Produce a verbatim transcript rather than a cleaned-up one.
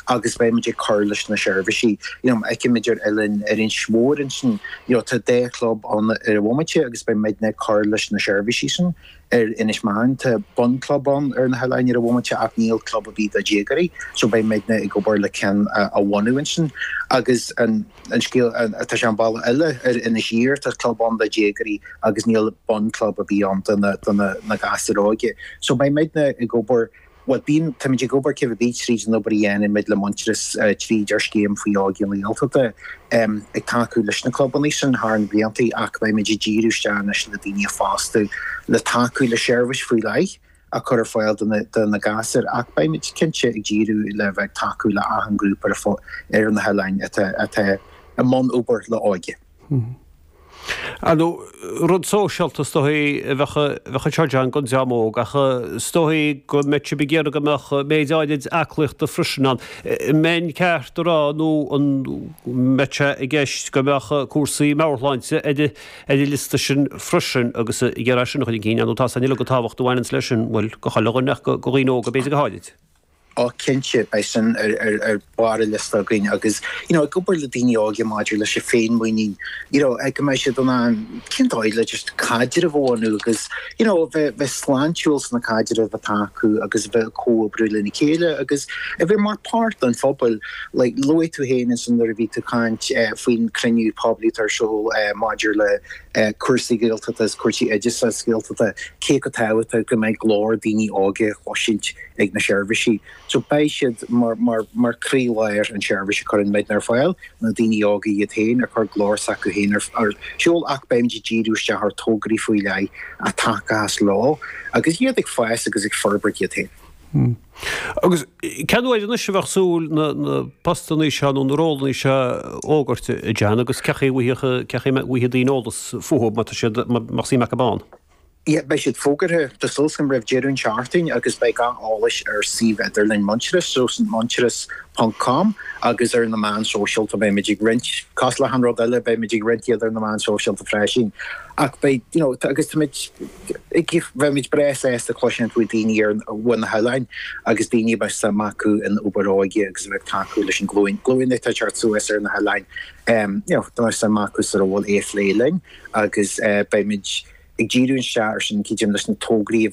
agus beimid ag cur leis na seirbhísí. You know, feicimid ar oileán ar Inis Mór ansin, you know, tá dhá chlub ann ar an bhomaite agus beimid ag cur leis na seirbhísí sin ar Inis Meáin tá bunchlub ann ar na hoileáin ar an bhomaite ach níl club ar bith do dhéagóirí, so beimid ag obair le ceann a bhunú ansin agus an an scéal tá sé an bealach eile ar Inis Oírr tá club ann do dhéagóirí agus níl bunchlub ar bith ann do na do na na gasúir óga. So beimid ag obair Well bíonn táimid ag obair cibé tríd an obair a dhéanaimid le Muintearas tríd ar scéim faoi Óige na Gaeltachta ag tacú leis na clubanna sin thar na blianta ach beimid ag díriú isteach anois le daoine a fhostú le tacú le seirbhís faoi leith a chur ar fáil do na do na gasúir ach beimid cinnte ag díriú le bheith tacú le achan grúpa ar na hoileáin atá atá i mbun obair le óige. Anu rud sóisialta is dóigh a bheadh bheadh seo John don dream óg ach is dóigh go mbeadh sibh ag iarraidh go mbeadh méid áirid aclaíochta freisin ann. Mbeinn ceart a rá nó an mbeadh sé i gceist go mbeadh cúrsaí meabhairshláinte ar ar an liosta sin freisin agus ag iarraidh sin a chur chun cinn nó tá san uilig an tábhacht a bhaineann leis sin bhuel go chuile dhuine ach go dhaoine óga b'fhéidir go háirid. Á cinnte beidh sin ar ar ar barr an liosta againn agus you know, ag obair le daoine óga maidir leis an féinmhuinín you know, go mbeidh siad in ann cén dóigh le just caidreamh a bhunú agus you know, bheith bheith sláintiúil sna caidrimh atá acu agus bheith comhoibriú lena chéile agus a bheith mar páirt den phobal like, luaigh tú féin ansin nuair a bhí tú caint eh, faoin cruinniú poiblí ar siúl eh, maidir le eh, cúrsaí Gaeltachta is cúrsaí oideachais Gaeltachta cé go tábhachtach go mbeidh glór daoine óga le cloisint ag na seirbhísí. So beidh siad mar mar mar chroílár an seirbhís a chuireann muid ar fáil na daoine óga iad féin a chur glór s'acu féin ar ar siúl ach beimid ag díriú isteach ar tograí faoi leith a tacas leo agus iad ag fás agus ag forbairt iad féin. Hmm. Agus cén uair anois a bheadh súil na, na postanna seo nó na rólanna seo a fhógairt John agus cén chaoi a bhfaighidh daoine eolas fúthu má tá siad má suim acu ann. Yeah, beidh siad fógartha tá súil agam roimh deireadh an tseachtain agus beidh gach eolas ar suíomh idirlín Muintearas so muintearas.com agus ar na meáin sóisialta beimid ag roinnt cosúil le achan rud eile beimid ag roinnt iad ar na meáin sóisialta freisin ach beidh you know, agus táimid beimid breá sásta cloisint faoi daoine ar bhun na hoileáin agus daoine beidh suim acu in obair óige agus bheith tacú leis an glúin glúin atá teacht suas ar na hoileáin um, you know, tá suim acu sa ról é a phlé linn agus uh, beimid ag díriú isteach ar sin cídim leis na tograí a